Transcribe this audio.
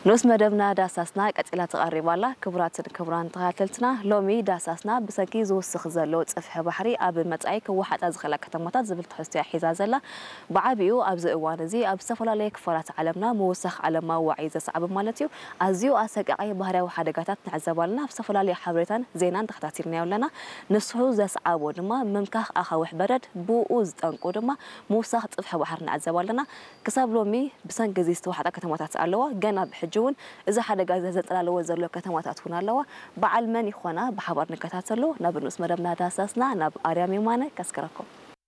ንኡስ መደብና ዳሳስና ቀጺላ ትቐርብ ኣላ። ክቡራትን ክቡራን ተኸታተልትና፣ ሎሚ ዳሳስና ብሰንኪ ዝውስኽ ዘሎ ጽፍሒ ባሕሪ ኣብ መጻኢ ክወሓጣ ዝኽእላ ከተማታት ዝብል ትሕዝቶ እያ ሒዛ ዘላ። ብዓቢኡ ኣብዚ እዋን እዚ ኣብ ዝተፈላለየ ክፋላት ዓለምና ምውሳኽ ዓለማዊ ዋዒ ዘስዓበ ማለት እዩ፣ ኣዝዩ ኣሰቃቒ ባህርያዊ ሓደጋታት ንዕዘብ ኣለና። ኣብ ዝተፈላለየ ሓበሬታን ዜናን ተኸታቲልናዮ ኣለና። ንሱ ዘስዓቦ ድማ ምምካኽ ኣኻውሕ በረድ፣ ብኡ ዝጠንቁ ድማ ምውሳኽ ጽፍሒ ባሕሪ ንዕዘብ ኣለና። ክሳብ ሎሚ ብሰንኪ እዚ ዝተዋሕጣ ከተማታት ኣለዋ። ገና ብሕጂ እውን እዚ ሓደጋ እዚ ዘጠላለወ ዘሎ ከተማታት እውን ኣለዋ። በዓል መን ይኾና ብሓባር ንከታተሎ። ናብ ንኡስ መደብና ዳሳስና ናብ ኣርያም የማነ ከስክረኩም።